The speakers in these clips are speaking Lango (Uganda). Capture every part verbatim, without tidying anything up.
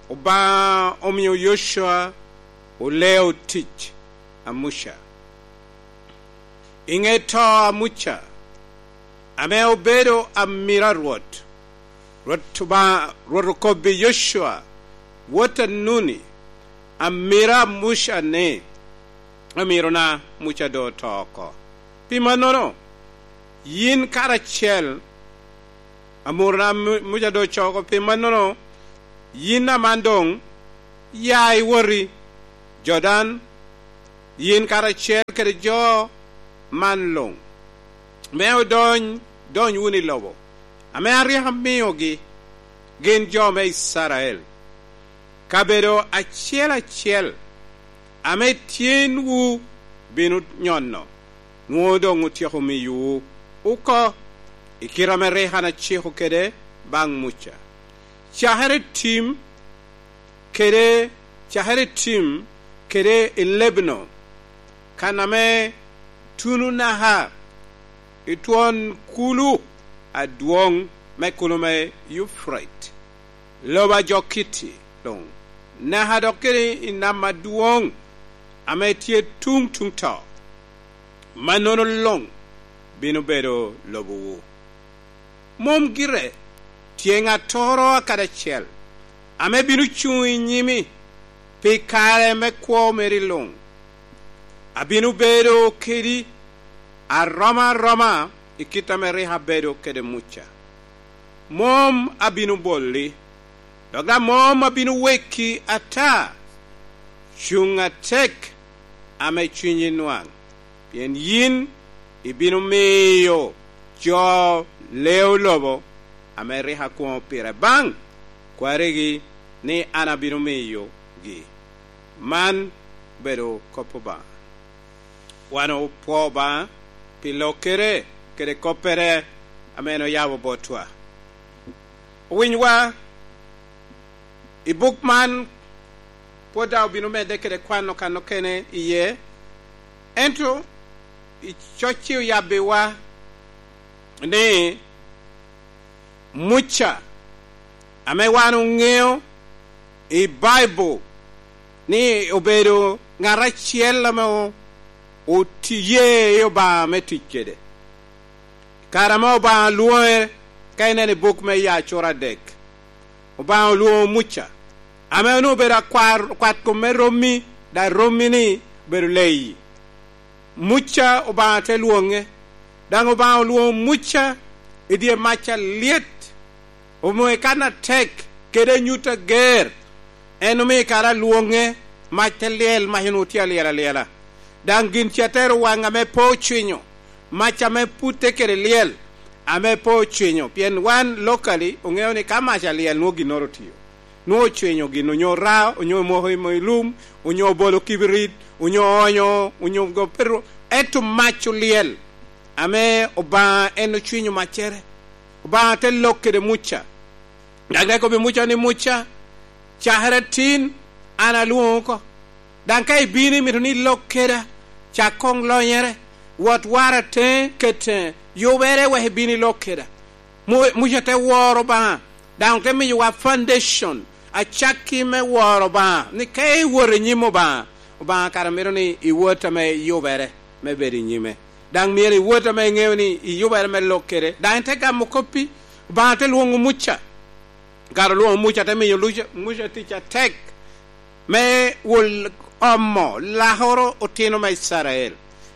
Obaŋa omio Yocwa oleo tic a Muca. I ŋe to a Muca, ame obedo amiro a Rwot, Rwot Obaŋa, Rwot okobbi Yocwa, wot a Nuni, amiro a Muca ni, "Amirona Muca doŋ oto oko. Pi mannono, yin karacel, amurona Mu-, Muca doŋ oto oko. Pi mannono, yin aman doŋ ya iwoti Jordan, yin karacel kede jo man luŋ, me odony, dony wunu i lobo ame aryeko amiogi, gin jo me Icrael. Kabedo acel acel ame tyenwu bino nyono, nwoŋo doŋ otyeko miyowu oko i kite ame rik an aciko kede baŋ Muca. Cakere i tim kede, cakere i tim kede i Lebanon, kan ame tuno naka i twon kulu adwoŋ me kulu me Yufrate, lobo a jo Kitti luŋ, naka dok kede i nam adwoŋ ame tye tuŋ tuŋ to, mannono luŋ bino bedo lobowu. Mom gire tye ŋattoro akadi acel ame bino cuŋ i nyimi pi kare me kwo meri luŋ. Abino bedo kedi aroma aroma i kit ame rik abedo kede Muca. Mom abino boli, dok daŋ mom abino weki ata. Cuŋ atek ame cunyi nwaŋ, pien yin ibino miyo jo leo lobo ame rik akwoŋo pire baŋ kwarigi ni an abino miyogi." Man obedo kop Obaŋa. Wan opwoo Obaŋa pi lokkere kede koppere ame en oyabo botwa. Owinywa, i buk man pwod daŋ obino medde kede kwano kan okene iye, ento i cocci oyabbiwa ni Muca, ame wan oŋeo i Baibul ni obedo ŋat acel ame o-, otiye i Obaŋa me tic kede. Kare ame Obaŋa lwoŋe, ka ineno i buk me Yacur adek, Obaŋa olwoŋo Muca, ame onwoŋo obedo akwar, kwat kom me rommi, daŋ rommi-ni obedo leyi. Muca Obaŋa te lwoŋe, daŋ Obaŋa olwoŋo Muca i dye mac alyet, omwoŋo i kan atek kede anyut ager. En omio kara lwoŋe, mac te lyel, mac onwoŋo tye alyel alyela. Daŋ gin ca te ru waŋ ame pe ocwinyo, mac ame putte kede lyel, ame pe ocwinyo. Pien wan locally oŋeo ni ka mac alyel nwoŋo ginnoro otio. Nwoŋo ocwinyo gin, onyo raa, onyo moko i mo i lum, onyo obolo kibirit, onyo oonyo, onyo go-, pe ru-, ento mac olyel, ame Obaŋa en ocwinyo maccere. Obaŋa te lok kede Muca. Daŋ te kobbi Muca ni, "Muca, cakere atin, an alwoŋo oko. Daŋ ka ibino imito ni ilok keda, cak koŋ lonyere, wot war ateŋe, ket, eh, yubere wek ibin ilok keda." Mu-, Muca te woro Obaŋa, daŋ te miyowa foundation, acakki me woro Obaŋa, ni ka iwot i nyim Obaŋa, Obaŋa kara mito ni iwot ame yubere me bedo i nyime. Daŋ myero iwot ame iŋeo ni iyubere me lok kede. Daŋ te gamo koppi, Obaŋa te lwoŋo Muca. Kara olwoŋo Muca, te miyo Luca-, Muca tic atek me wol omo lakoro otino me Icrael.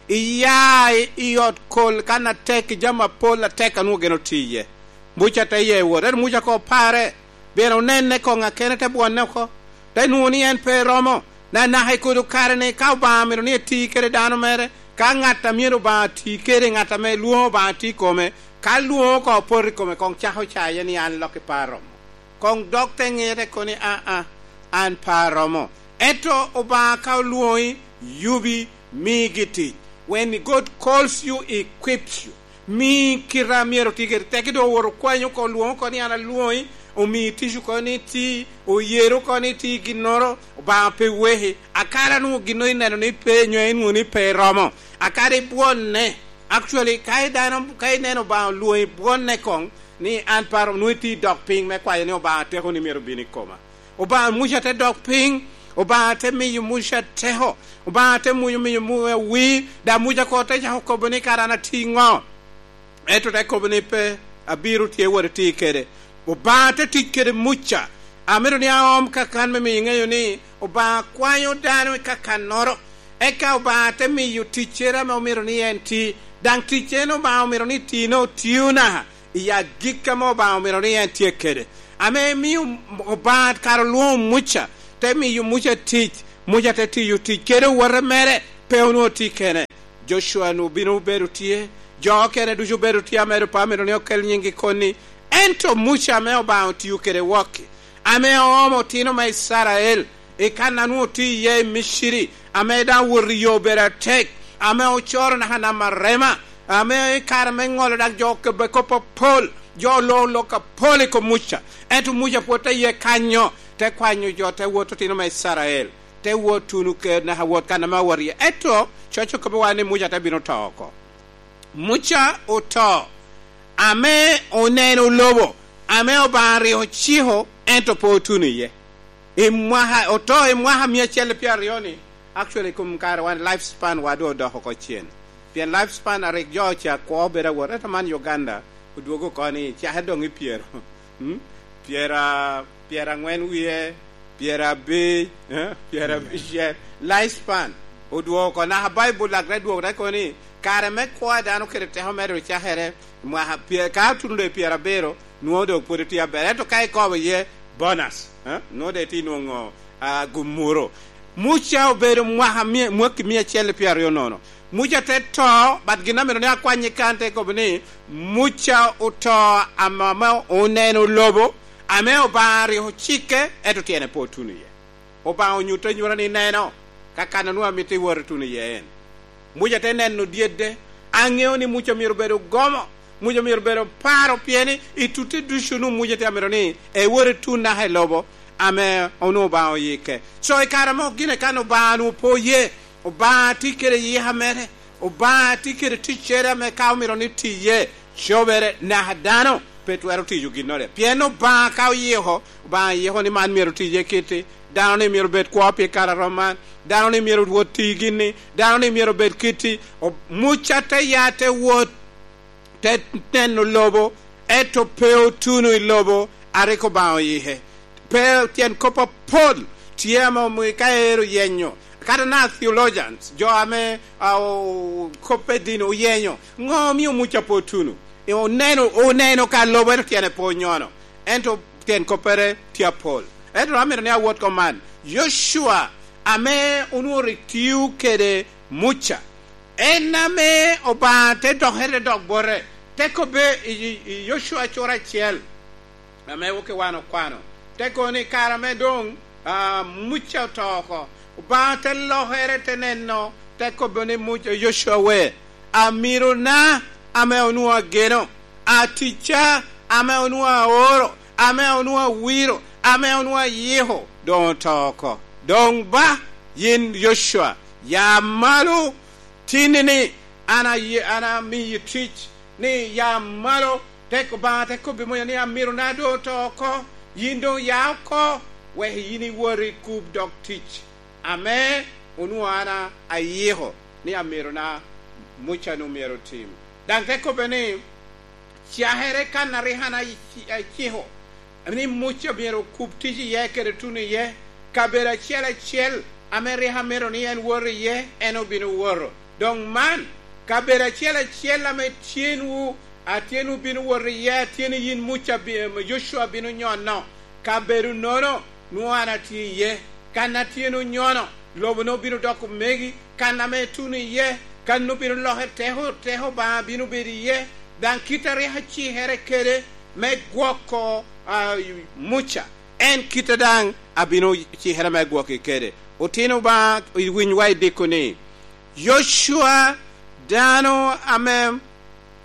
Iya i, i ot kol kan atek, i jami apol atek a nwoŋo gin otiye. Muca te ye wot, ento Muca koŋ opare, pien onenne koŋ akene, te bwonne oko, te nwoŋo ni en pe romo. Anaka i kodo kare-ni, ka Obaŋa mito ni eti kede dano mere, ka ŋat a myero Obaŋa ti kede, ŋat ame lwoŋo Obaŋa ti i kome, ka lwoŋo koŋ opoto i kome, koŋ cako caye ni, "An lok i par romo." Koŋ dok te ŋete kono ni, "Aa, an pe aromo." Ento Obaŋa ka olwoŋi, yubi, migi tic. When God calls you, he equips you. Mi kite a myero oti kede. Teki doŋ owoto okwanyo oko, olwoŋo oko ni, "An alwoŋi," omi tic oko ni iti, oyero oko ni iti ginnoro, Obaŋa pe weki. Akara nwoŋo ginnoro ineno ni pe, nyo inwoŋo ni pe iromo. Akara ibwonne. Actually, ka i dano, ka ineno Obaŋa olwoŋi, bwonne koŋ ni, "An pe aromo," nwoŋo iti dok piny me kwayo ni, "Obaŋa, tekoni myero obin i koma." Obaŋa, Muca te dok piny, Obaŋa te miyo Muca teko, Obaŋa te miyo, miyo Muca wir, daŋ Muca koŋ te cako kobo ni, "Kara an atye ŋo?" Ento te kobo ni, "Pe, abiro tye wot iti kede." Obaŋa te tic kede Muca. Amito ni aom kakan me miyo iŋeyo ni Obaŋa kwanyo dano i kakannoro. Eka Obaŋa te miyo ticcere ame omito ni en ti. Daŋ ticcere-nu Obaŋa omito ni tino, tio naka i agikki ame Obaŋa omito ni en tye kede. Ame mio Obaŋa kara olwoŋo Muca, te miyo Muca tic. Muca te tiyo tic kede owote mere, pe onwoŋo tye kene. Jocua-nu obino obedo tye, jo okene ducu obedo tye, amedo pe amito ni okel nyinggi koni. Ento Muca ame Obaŋa otio kede wokki, ame oomo otino me Icrael i kan a nwoŋo tye iye i Miciri, ame daŋ wot i yo obedo atek, ame ocoro naka nam arema, ame i kare me ŋolo daŋ jo okebbe kop apol, jo olo lok apol i kom Muca. Ento Muca pwod te ye kanyo, te kwanyo jo, te wot otino me Icrael, te wot tuno ker naka wot kan ame owot iye. Ento coc okobbiwa ni Muca te bino to oko. Muca oto, ame oneno lobo ame Obaŋa rik ociko, ento pe otuno iye. I mwaka, oto i mwaka mia acel i pyeraryo-ni, actually, i kom kare wan, life span wa doŋ odoko oko cen. Pien life span a rik jo oca kwo bedo awot, ento man Uganda odwogo oko ni cake doŋ i pyero, mm? Pyera-, pyeraŋwen wie, pyerabic, eh, pyerabicel. Life span odwogo oko. Naka Baibul lak te dwogo te kono ni, kare me kwo a dano kede teko mere ocakere, mwaka pye-, ka otuno doŋ i pyerabiro, nwoŋo doŋ pwod itye aber. Ento ka ikobo iye, bonus, eh, nwoŋo doŋ itye nwoŋo, ah, gumuro. Muca obedo mwaka mia, mwaki mia acel i pyeraryo nono. Muca te to, but gin amito ni akwany i kan te kobo ni, Muca oto ame, ame oneno lobo, ame Obaŋa rik ocikke, ento tyene pe otuno iye. Obaŋa onyutte anyuta ni, neno, kakan a nwoŋo amito iwot ituno iye en. Muca te neno dyedde. Aŋeo ni Muca myero bedo gomo, Muca myero bedo paro, pien i tutte ducu nwoŋo Muca tye amito ni ewot itun naka i lobo ame onwoŋo Obaŋa oyikke. So i kare mo gine kan Obaŋa nwoŋo pe oye, Obaŋa tye kede yika mere, Obaŋa tye kede ticcere ame ka omito ni tiye, cobere naka dano pe twero tiyo ginnoro. Pien Obaŋa ka oyiko, Obaŋa yiko ni man myero tiye kitti, dano ni myero bed kwo pi kare a rom man, dano ni myero wot ti gin-ni, dano ni myero bed kitti. O-, Muca te ya te wot, te neno lobo, ento pe otuno i lobo a rik Obaŋa oyike. Pe tyen kop apol tye ame omio ka ero yenyo. Kata na theologians, jo ame, a, o-, koppe dini oyenyo, ŋo omio Muca pe otuno? Oneno, oneno ka lobo, ento tyene pe onyono. Ento tyen koppere tye apol. Ento amito ni awot ko man. Yocua, ame onwoŋo rik tio kede Muca, en ame Obaŋa te dokere dok bote, te kobbe i, i, i Yocua cura acel, ame woki wan okwano, te kono ni kare ame doŋ, ah, Muca oto oko, Obaŋa te lokere, te neno, te kobo ni Muca, Yocua we, amirona ame onwoŋo ageno, aticca ame onwoŋo aoro, ame onwoŋo awiro, ame onwoŋo ayiko, doŋ oto oko. Doŋ ba, yin Yocua, ya malo, tinni-ni an aye-, an amiyi tic, ni ya malo, te Obaŋa te kobbi Muca ni, amirona doŋ oto oko, yin doŋ ya oko, wek yin iwot ikub dog tic ame onwoŋo an a-, ayiko ni amirona Muca-nu myero otim. Daŋ te kobbe ni, cakere kan a rik an aci-, aciko ni Muca myero okub tic iye kede tuno iye, kabedo acel acel ame rik amito ni en wot iye, en obino woto. Doŋ man, kabedo acel acel ame tyenwu, a tyenwu bino wot iye, a tyeni yin Muca bi-, em, Yocua bino nyono, kabedo nono, nwoŋo an atye iye. Kan a tyeni onyono, lobo-nu obino doko megi. Kan ame ituno iye, kan obino loke teko, teko Obaŋa bino bedo iye. Daŋ kit a rik acikere kede me gwoko, a, Muca, en kite daŋ abino cikere me gwoki kede. Otino Obaŋa, iwinywa i diko ni, Yocua, dano ame,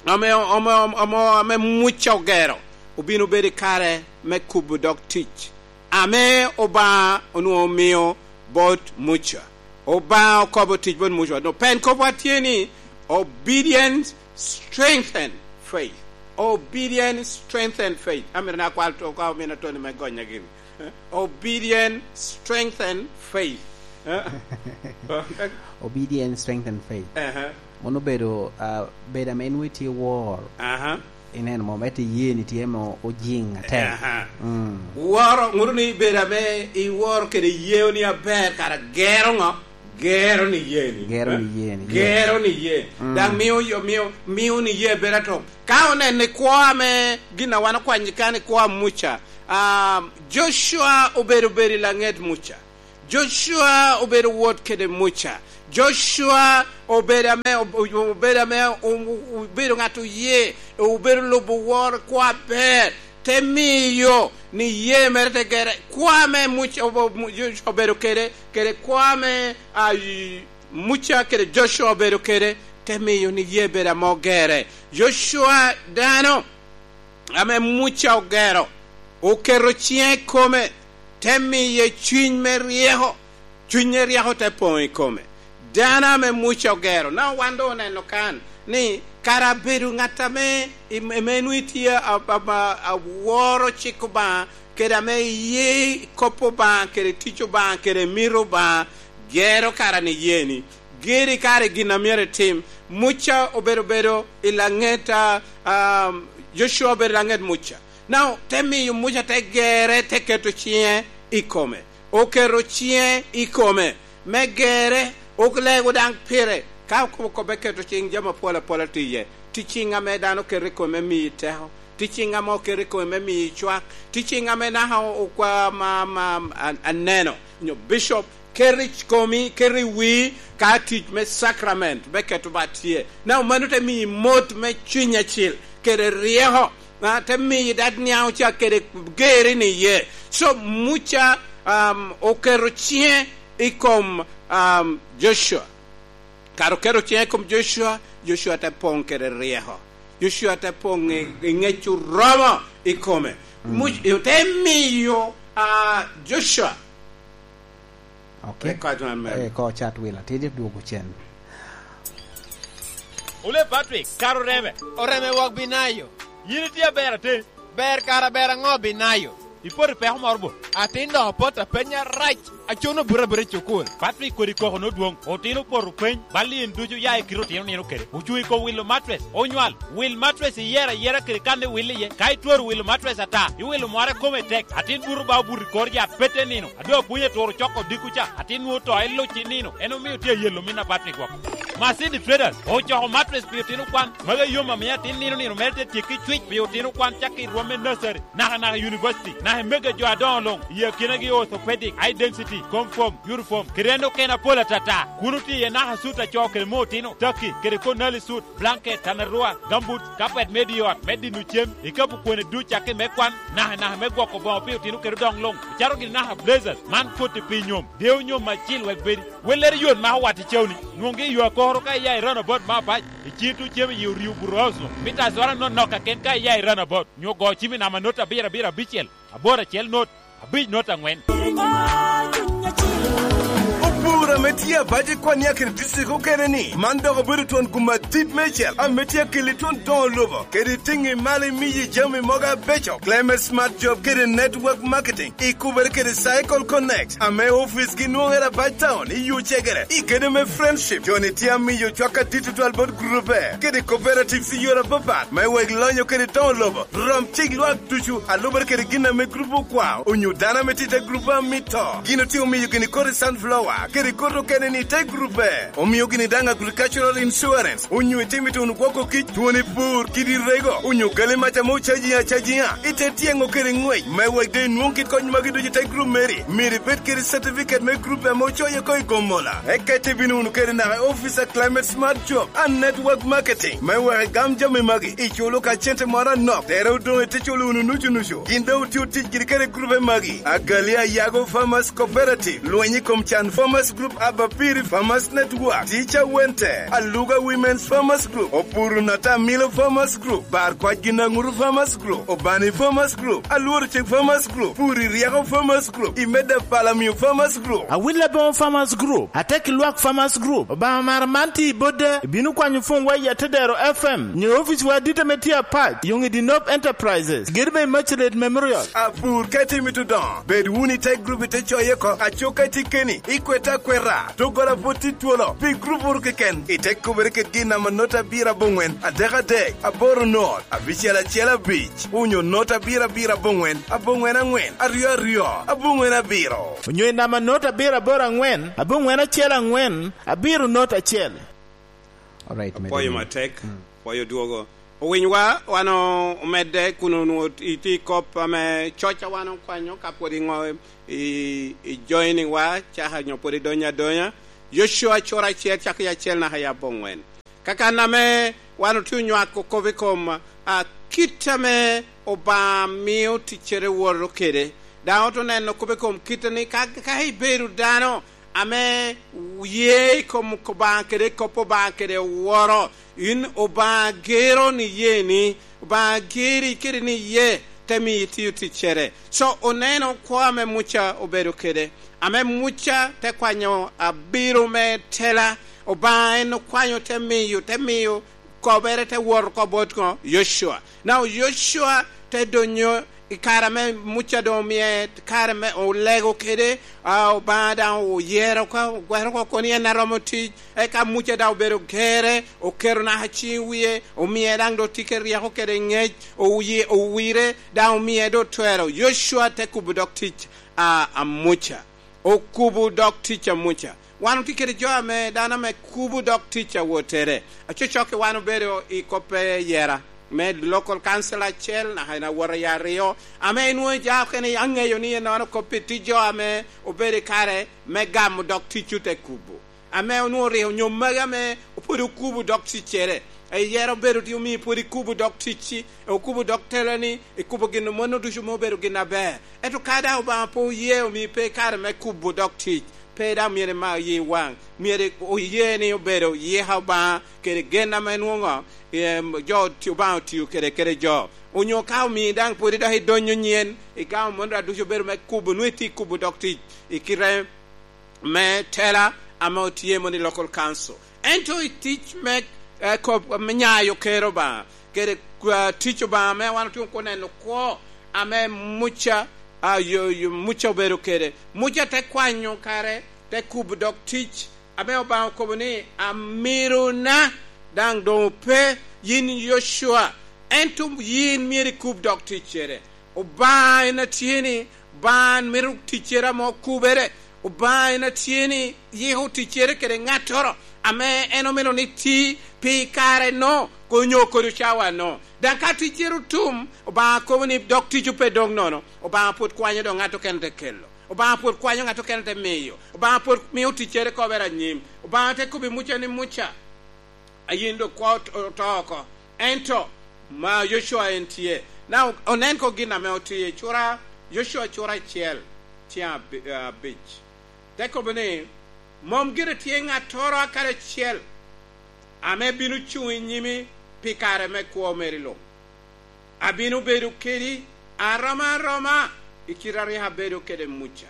ame, ame, ame, ame Muca ogero, obino bedo i kare me kubo dog tic ame Obaŋa onwoŋo omio bot Muca. Obaŋa okobo tic bot Muca. No, pen kopwa tye ni, obedience strengthen faith. Obedience strengthen faith. Amito ni akwal to ka omina Tony me gonya gini. Obedience strengthen faith. Eh? Obedience strengthen faith. Aha. Mano obedo, ah, bedo ame nwoŋo itye wor. Aha. Ineno mo, ento iyeni tye mo ojiŋ atek. Aha. Mm. Woro, ŋuto ni bedo ame iworo kede yeo ni aber, kara gero ŋo? Gero ni yeni. Gero ni yeni, yes. Gero ni ye. Mm. Daŋ mio, mio, mio ni ye bedo atop. Ka oneno i kwo ame gin a wan okwanyo kan i kwo a Muca, ah, Joshua obedo, obedo i laŋet Muca. Joshua obedo wot kede Muca. Joshua obedo ame, obedo ame o-, o-, obedo ŋat oye, obedo lubo woro kwo aber, te miyo ni ye mere te gere. Kwo ame Muca obo-, Mu-, Joshua obedo kede, kede kwo ame, ah, i-, Muca kede Joshua obedo kede, te miyo ni ye bedo ame ogere. Joshua dano ame Muca ogero, oketo ciŋe i kome, te miye cuny me ryeko, cunye ryeko te poŋ i kome. Dano ame Muca ogero, na wan doŋ oneno kan, ni kara abedo ŋat ame, ame nwoŋo itye a, a, a, aworo cik Obaŋa, kede ame iye kop Obaŋa, kede tic Obaŋa, kede mito Obaŋa, gero kara ni yeni. Giri kare gin a myero itim. Muca obedo, obedo i laŋet, a, um, Joshua obedo i laŋet Muca. Now, te miyo Muca te gere, te keto ciŋe i kome. Oketo ciŋe i kome me gere, olego daŋ pire. Ka okobo kobbe keto ciŋ, jami apol apol tye iye. Tye ciŋ ame dano keto i kome me miyi teko. Tye ciŋ ame oketo i kome me miyi cwak. Tye ciŋ ame naka okwa ma, ma, a-, aneno, nyo bishop, keto i komi, keto i wii ka tic me sacrament me keto bat tye. Na mano te miyi mot me Cuny Acil kede ryeko, a, te miyi dad niaŋ oca kede geri ni ye. So, Muca, um, oketo ciŋe i kom, um, Joshua. Kara oketo ciŋe i kom Joshua, Joshua te poŋ kede ryeko. Joshua te poŋ i, i ŋec oromo i kome. Mm. Muc-, te miyo, a, Joshua. Ok. Rik koc man mere. Eh, ko cat wil atir, dwogo cen. Ole Patrick, kara oreme. Oreme wok Binayo. Yin itye aber atir. Ber kara ber aŋo Binayo? Ipoto i peko moro bo? Atin doŋ opoto apeny arac, acono buto abuta i cukul. Patrick kodi koko nodwoŋ, otino opoto peny, bal i en ducu oya i kite otino nino kede. Ocuŋ i kom wilo matres, onywal, wil matres iyero ayera kede kan iwil iye. Ka itwero wilo matres ata, iwilo mware kome tek, atin buto ba obuto i kor yat pete nino. A doŋ apwony aturo coko odiko ca, atin nwoŋo to eluc i nino, en omio tye ayelo min a Patrick woko. Masindi Traders ocoko matres pi otino kwan, magi a yom amiyo atin nino nino mere te tyekki cwic pi otino kwan cakki i rwom me nursery, naka naka i university, naka i mege jo adoŋo luŋ, i akinagi orthopedic, high density, comfom, uniform, kede en okene apol atata. Kun otye iye naka sut a co kede me otino, taki, kede konali sut, blanket, tanarua, gambut, kapet me di ot, me dino cem, ikapu kwene duc cakki me kwan, naka naka me gwoko boŋo pi otino kede odoŋ luŋ, ocato gini naka blazers, man koti pi nyom, deo nyom acil wek bedi. Wellere yot mako wat i cawni, nwoŋgi i yo akoro ka iya i runabout me Abac, i cito cem i Orio Burozo, mita azora nonok kaken ka iya i runabout, nyo go cim i namba not abiro abiro abicel, aboro acel not, abic not aŋwen. Opur ame tye Abac i Kwania kede district okene ni, man dok obedo twon gum adit meicel ame tye akeli twon doŋo lobo, kede tiŋi malo imiyi jami mogo abeco. Clement Smart Job kede Network Marketing ikubere kede Cycle Connect, ame oficgi nwoŋere Abac Town i yo cegere, i gedo me Friendship. Joni tye amiyo cwak adit tutwal bot gurube kede cooperatives i yore apapat, me wek lonyo kede toŋo lobo. Rom cik lwak ducu, a lubere kede gin ame gurup okwao, onyo dano ame tye i te gurup a mito. Gin otye omiyo gini koti sunflower, kede koti okene ni i te gurupe. Omio gini daŋ agricultural insurance, onyo itimo i tuno gwoko kic, twoni pur, kidi rego, onyo gali mac ame ocaji acajiŋa, i te tyeŋo kede ŋwec. Me wek doŋ inwoŋ kit kony magi ducu i te gurup meri, myero ibed kede certificate me gurup ame ocoyo oko i Gomola. Eka ite bino wunu kede naka i office a Climate Smart Job and Network Marketing. Me wek igam jami magi, iculo ka cente moro anok, tere odoŋ ite culo wunu nucu nucu. Gin doŋ otye otic giri kede gurupe magi, Agali Ayago Farmers Cooperative, lweny i kom can farmers Farmers Group, Abapiri Farmers Network, Teacher Wente, Aluga Women's Farmers Group, Opuru Natamilo Farmers Group, Bar Kwac Ginaŋuru Farmers Group, Obani Farmers Group, Alworo Cik Farmers Group, Puri Ryeko Farmers Group, Imeda Palamio Farmers Group. Awil Aboŋo Farmers Group, Atek Lwak Farmers Group, Obaŋa mara man tye i bodde, ibino kwanyo pwonwa i Atedero F M, nyo oficwa adit ame tye apac, Yoŋ i Dinop Enterprises, gedo me Immaculate Memorial. Apur ka itimo i Tudoŋo, bed wunu i te gurup i te coye oko, aco ka itye keni, ikwete akweta, doggola pwod tye twolo, pi gurup wunu keken, ite kubere kede gin namba not abiro aboŋwen, adek adek, aboro not, abicel acel abic, onyo not abiro abiro aboŋwen, aboŋwen aŋwen, aryo aryo, aboŋwen abiro. Onyo i namba not abiro aboro aŋwen, aboŋwen acel aŋwen, abiro not acel. Alright, Apwoyo Meddy. Matek, Mm. Apwoyo dwogo. Owinywa, wan o-, omedde kun onwoŋo itye i kop ame coc a wan okwanyo ka pwod iŋo i, i joining wa, caka nyo pwod idonyo adonya. Yocua cura acel, cako i acel naka i aboŋwen. Kakan ame wan otye onywako kop i kom, a, kit ame Obaŋa mio ticcere woto kede. Daŋ oto neno kop i kom kite ni ka, ka ibedo dano ame ye i kom Obaŋa kede kop Obaŋa kede woro, in Obaŋa gero ni ye ni, Obaŋa geri kede ni ye te miyo itio ticcere. So, oneno kwo ame Muca obedo kede, ame Muca te kwanyo abiro me tela, Obaŋa en okwanyo te miyo, te miyo kobere te wot oko bot ŋo? Yocua. Now, Yocua te donyo i kare ame Muca doŋ omie kare me olego kede, a, Obaŋa daŋ oyero oko, ogwero oko kono en a romo tic, eka Muca daŋ obedo gere, oketo naka ciŋ wie, omie daŋ doŋ tye kede ryeko kede ŋec, owie-, owire, daŋ omie doŋ twero. Yocua te kubo dog tic a, a Muca. Okubo dog tic a Muca. Wan otye kede jo ame, dano ame kubo dog tic a wottere. Acocok-ki wan obedo i kop me yera me local council acel, naka en awot i aryo, ame inwoŋo ija okene aŋeyo ni ennono kop pi tye jo ame obedo i kare me gamo dog tic ote kubo. Ame onwoŋo rik onyo magi ame pwod okubo dog ticcere. Eyero obedo tye omii pwod ikubo dog ticci, okubo dog telani, ikubo gin mano ducu me obedo gin aber. Ento ka daŋ Obaŋa pe oye, omii pe i kare me kubo dog tic, pe daŋ myero ima oye waŋ. Myero oye ni obedo yika Obaŋa kede gen ame nwoŋo, em, jo oti-, Obaŋa otio kede, kede jo. Onyo ka omii daŋ pwod idok idonyo nyen, igamo mano daŋ ducu obedo me kubo, nwoŋo itye ikubo dog tic i kite me tela ame otye mono i local council. Ento i tic me, eh, kop-, me nyayo ker Obaŋa, kede, ah, tic Obaŋa ame wan otye oneno kwo ame Muca, ah, yo, yo, Muca obedo kede. Muca te kwanyo kare, te kubo dog tic, ame Obaŋa okobo ni, "Amirona daŋ doŋ ope, yin Yocua, ento yin myero ikub dog ticcere." Obaŋa en atye ni, Obaŋa mito ticcere ame okubere. Obaŋa en atye ni yiko ticcere kede ŋattoro ame en omito ni ti pi kare-no, onyo kodi cawa-no. Daŋ ka ticcere otum, Obaŋa kobo ni dog tic pe dog nono. Obaŋa pwod kwanyo dok ŋat okene te kelo. Obaŋa pwod kwanyo ŋat okene te miyo. Obaŋa pwod mio ticcere kobere anyim. Obaŋa te kobbi Muca ni, "Muca, a yin dok kwo ot-, oto oko." Ento ma Yocua en tye. Na o-, onen ko gin ame otye, cura, Yocua cura acel, tye abi-, abic. Te kobo ni, "Mom gire tye ŋattoro akadi acel ame bino cuŋ i nyimi pi kare me kwo meri luŋ. Abino bedo kedi aroma aroma i kite a rik abedo kede Muca.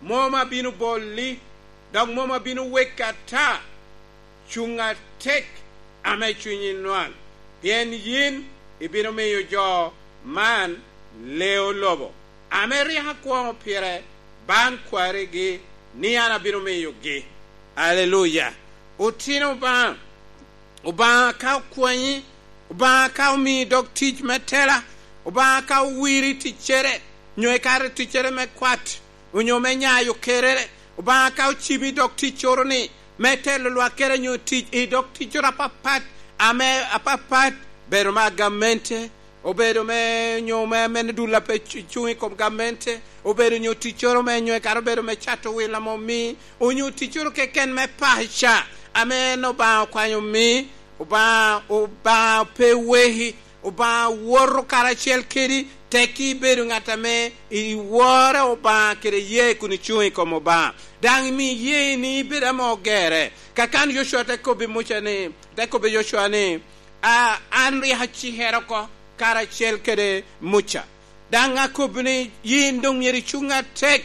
Mom abino bolli, dok mom abino weki ata. Cuŋ atek ame cunyi nwaŋ, pien yin ibino miyo jo man leo lobo ame rik akwoŋo pire baŋ kwarigi ni an abino miyogi." Aleluya! Otino Obaŋa, Obaŋa ka okwanyi, Obaŋa ka omii dog tic me tela, Obaŋa ka owiri ticcere, nyo ikato ticcere me kwat, onyo me nyayo kerere, Obaŋa ka ocibi dog ticcoro-ni, me telo lwak kede nyo tic i dog ticcoro apapat, ame apapat, bedo me agamente, obedo me nyo me, me dul a pe cu-, cuŋ i kom gamente, obedo nyo ticcoro me nyo ekato obedo me cato wil ame omii, onyo ticcoro keken me paca, ame en Obaŋa okwanyo omii, Obaŋa, Obaŋa pe weki, Obaŋa woto karacel kedi, Tekki ibedo ŋat ame iworo Obaŋa kede iyee kun icuŋ i kom Obaŋa. Daŋ imi iyee ni ibedo ame ogerre. Kakan Yocwa te kobbi Muca ni, te kobbi Yocwa ni, "A, an rik acikere oko karacel kede Muca." Daŋ akobbi ni, "Yin doŋ myero icuŋ atek,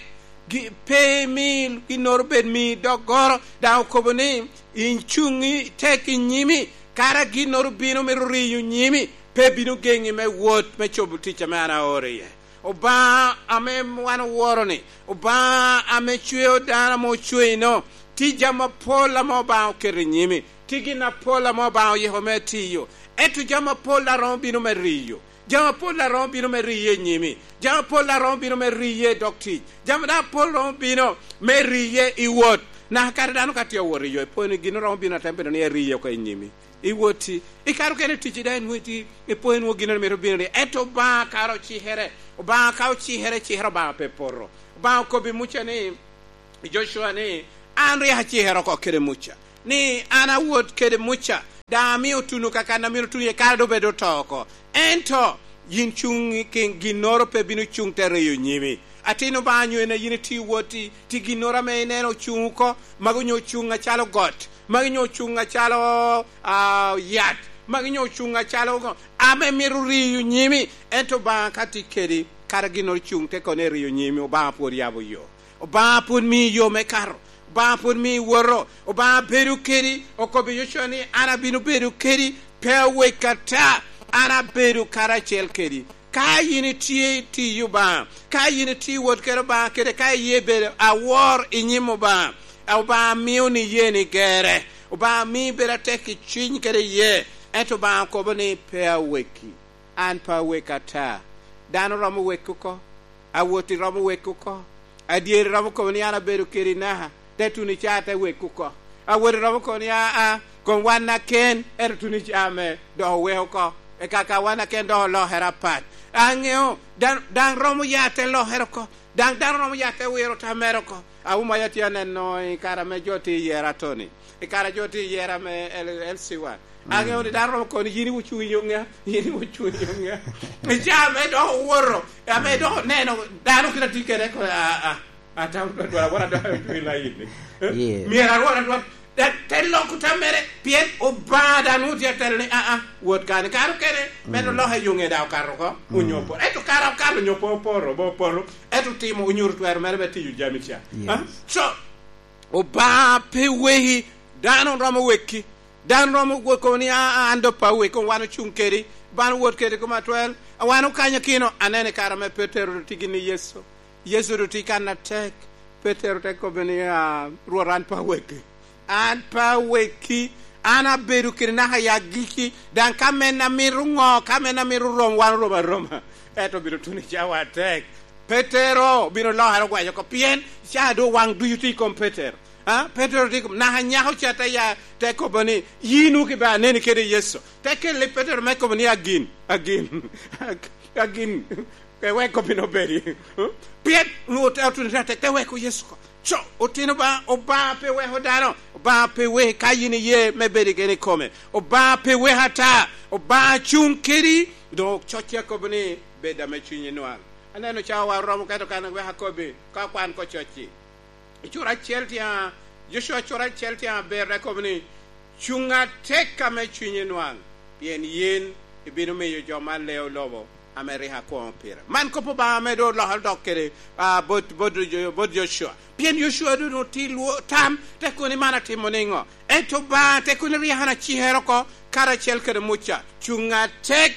gi-, pe imi ginnoro bed mi doggoro." Daŋ okobo ni, "Icuŋ i tek i nyimi, kara ginnoro bino mito riyo nyimi, pe bino geŋi me wot me cobo tic ame an aoro iye." Obaŋa ame wan oworo-ni, Obaŋa ame cweo dano ame ocweyino, tye jami apol ame Obaŋa oketo i nyimi, tye gin apol ame Obaŋa oyiko me tiyo, ento jami apol daŋ romo bino me riyo. Jami apol daŋ romo bino me riye i nyimi. Jami apol daŋ romo bino me riye i dog tic. Jami daŋ apol romo bino me riye i wot. Naka kare dano ka tye awot i yo, ipwoo ni gin romo bino atem bedo ni eriye oko i nyimi. I wotti, ikato kene ticci daŋ inwoŋo itye, ipwoo inwoŋo gin mito bino ni. Ento Obaŋa kara ocikere, Obaŋa ka ocikere, cikere Obaŋa pe poto. Obaŋa okobbi Muca ni, Jocua ni, "An rik acikere oko kede Muca, ni an awot kede Muca, daŋ amio tuno kakan a myero tuno iye kara doŋ bed oto oko. Ento yin cuŋ i kin ginnoro pe bino cuŋ te riyo nyimi." Atin Obaŋa nyo en a yin itye iwot i, tye ginnoro ame ineno ocuŋ oko, magi onyo ocuŋ acalo got, magi onyo ocuŋ acalo, ah, yat, magi onyo ocuŋ acalo ŋo, ame mito riyo nyimi, ento Obaŋa ka tye kedi, kara ginnoro cuŋ te kono eriyo nyimi, Obaŋa pwod yabo yo. Obaŋa pwod mii yo me kato. Obaŋa pwod mii woto. Obaŋa bedo kedi, okobbi Yocua ni, "An abino bedo kedi, pe awek ata, an abedo karacel kedi." Ka yin itye i tiyo Obaŋa, ka yin itye i wot kede Obaŋa kede ka iye bedo awor i nyim Obaŋa, Obaŋa mio ni iyee ni gerre, Obaŋa mii bedo atek i cwiny kede iye, ento Obaŋa kobo ni, "Pe aweki." An pe awek ata. Dano romo wek oko, awoti romo wek oko, adyeri romo kobo ni an abedo kede naka, te tuno i caa te wek oko. Awoti romo kobo ni, "Aa, kom wan aken, ento tuno i caa me dok owek oko." Eka ka wan aken dok olokere apat. Aŋeo, dan-, daŋ romo ya te lokere oko. Daŋ dano romo ya te wiro tamere oko. Awuma ya tye aneno i kare ame jo tye i yera atoni. I kare jo tye i yera me L-, L C one. Aŋeo ni dano romo kono ni, "Yin iwucuŋ i yo ŋa? Yin iwucuŋ i yo ŋa?" I caa me dok owoto, ame dok oneno dano kite atye kede, ko, a, a, a, tam, dwara, dwara, dwara, dwara, lain ni. Myero arwot, arwot. Te, te loko tam mere, pien Obaŋa daŋ nwoŋo tye atelo ni, "Aa, wot kani." Kare okene, meno lok i yo ŋe daŋ okato oko, onyo opoto. Ento kare okato onyo pe opoto, pe opoto, ento otimo, onyuto twero mere me tiyo jami ca. Ah? So, Obaŋa pe weki, dano romo weki. Dano romo weko ni, "Aa, an doŋ pe aweko, wan ocuŋ kedi, wan owot kedi koma atwel, wan okanyo kino." Aneno i kare ame Petero tye gin i Yecu. Yecu doŋ tye kan atek. Petero te kobbe ni, "Aa, Rwot, an pe aweki. An pe aweki. An abedo kede naka i agikki. Daŋ ka men amito ŋo, ka men amito rom, wan orom aroma. Ento obino tuno i cawa atek." Petero obino lokere ogwaco oko, pien caa doŋ waŋ ducu tye i kom Petero. Ah, Petero tye i kom, naka nyako ca te ya, te kobo ni, "Yin wok ibe aneni kede Yecu." Te kelle Petero me kobo ni, "Agin, agin, ag-, agin." Pe wek obin obedi. Pien Rwot te otuno te atek, te weko Yecu oko. Co, otino ba, Obaŋa pe weko dano, Obaŋa pe weko ka yin iye me bedo i gen i kome. Obaŋa pe weko ata, Obaŋa cuŋ kedi, doŋ cocci akobo ni, "Bed ame cunyi nwaŋ." Aneno cawa oromo, kato kan wek akobbi, ka kwan ko cocci. I cura acel tye a, Yocua cura acel tye aber, te kobo ni, "Cuŋ atek ame cunyi nwaŋ, pien yin ibino miyo jo man leo lobo ame rik akwoŋo pire." Man kop Obaŋa ame doŋ olokere dok kede, ah, bot, bot Jo-, bot Yocua. Pien Yocua doŋ otye lwo-, tam, te kobo ni, "Man atimo niŋo?" Ento Obaŋa te kobo ni, "Rik an acikere oko karacel kede Muca. Cuŋ atek."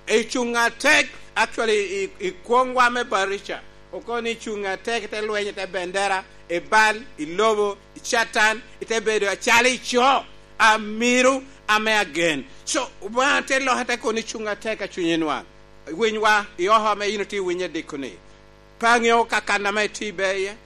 I cuŋ atek, actually, i, i kwoŋwa me Barica, okobo ni cuŋ atek, ite lweny, ite bendera, i bal, i lobo, i Catan, ite bedo acalo i co, amiro, ame agen. So, Obaŋa te loke te kobo ni cuŋ atek a cunye nwaŋ. Winywa, i oko ame yin otye winyo diko-ni. Pe aŋeo kakan ame itye ibe iye,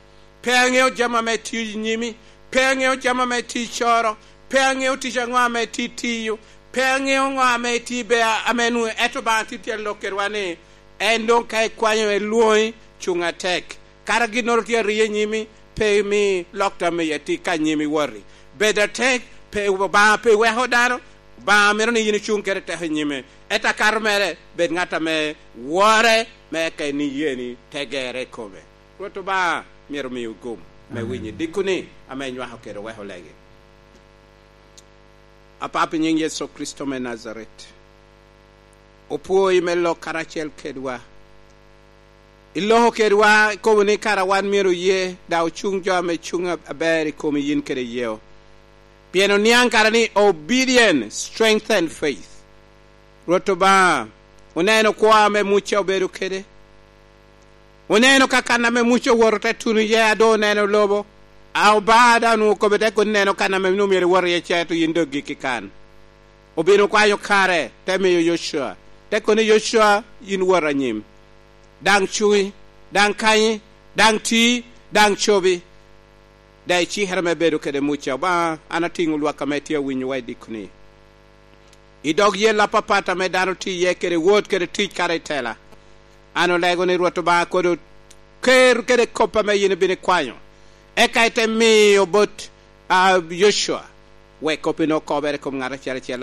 pe aŋeo jami ame itye i nyimi, pe aŋeo jami ame itye icoro, pe aŋeo tic aŋo ame itye itiyo, pe aŋeo ŋo ame itye ibe a-, ame nwoŋo, ento Obaŋa tye tye alok kedwa ni, en doŋ ka ikwanyo, elwoŋi, cuŋ atek. Kara ginnoro tye ariyo i nyimi, pe imi lok tam i ati ka nyimi woti. Bed atek, pe Obaŋa pe weko dano, Obaŋa mito ni yin icuŋ kede teko i nyime. Ento akato mere, bed ŋat ame wore, me ka en iyeni te gerre i kome. Rwot Obaŋa myero omiwu gum me winyo dikoni ame inywako kede oweko legi. Apap i nyiŋ Yecu Kricito me Najaret, opwoi me lok karacel kedwa. Iloko kedwa, ikobo ni kara wan myero oye, daŋ ocuŋ jo ame cuŋ ab-, aber i komi yin kede yeo. Pien oniaŋ kara ni obedience strengthen faith. Rwot Obaŋa, oneno kwo ame Muca obedo kede. Oneno ka kan ame Muca owoto te tuno iye, a doŋ oneno lobo. A Obaŋa daŋ onwoŋo okobbe te kono, neno kan ame nwoŋo myero iwot iye, ce to yin doŋ gikki kan. Obino kwanyo kare, te miyo Yocua. Te kono ni, "Yocua, yin wot anyim. Daŋ cuŋi, daŋ kanyi, daŋ ti, daŋ cobi." Daŋ icikere me bedo kede Muca. Obaŋa, an atiŋo lwak ame tye awinyowa i dikoni. I dog yel apapat ame dano tye iye kede wot kede tic kara i tela, an olego ni Rwot Obaŋa kodo ker kede kop ame yin ibino ikwanyo, eka ite miyo bot, a, Yocua, wek kop-pi nwoŋo okobere i kom ŋat acel acel.